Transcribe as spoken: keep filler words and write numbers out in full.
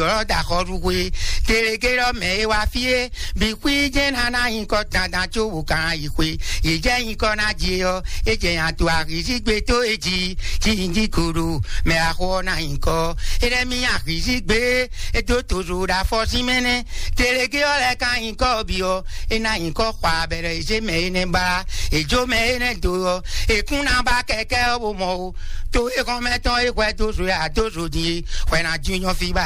ɔ́ da xɔ ɖu xwe. Telegé ɔ́ mɛ e wá fí é, bǐ xwí jɛ́n ná ná nyǐkɔ dandan có wǒ kan yi xwe. Yě jɛ nyǐkɔ ná jí é ɔ́, é jɛ nya to axǐzígbe tó é jí, cí nyí jí koɖo mɛ axɔ ɔ́ ná nyǐkɔ. É lɛ́ mì axǐzígbe, é dó tozo ɖo afɔ sín mɛ nɛ́. Telegé ɔ́ lɛ́ kan nyǐkɔ bǐ ɔ́, é ná nyǐkɔ xɔ abɛɖɛ zé mɛ énɛ́ ba, è jó mɛ énɛ́ do ɔ́, è kún ná ba kɛkɛ́ ɔ́ bó mɔ ó. To e xɔ́mɛ tɔn e hwɛ dó zo e adó zo din é, hwɛ ná jínjɔ́n fí ba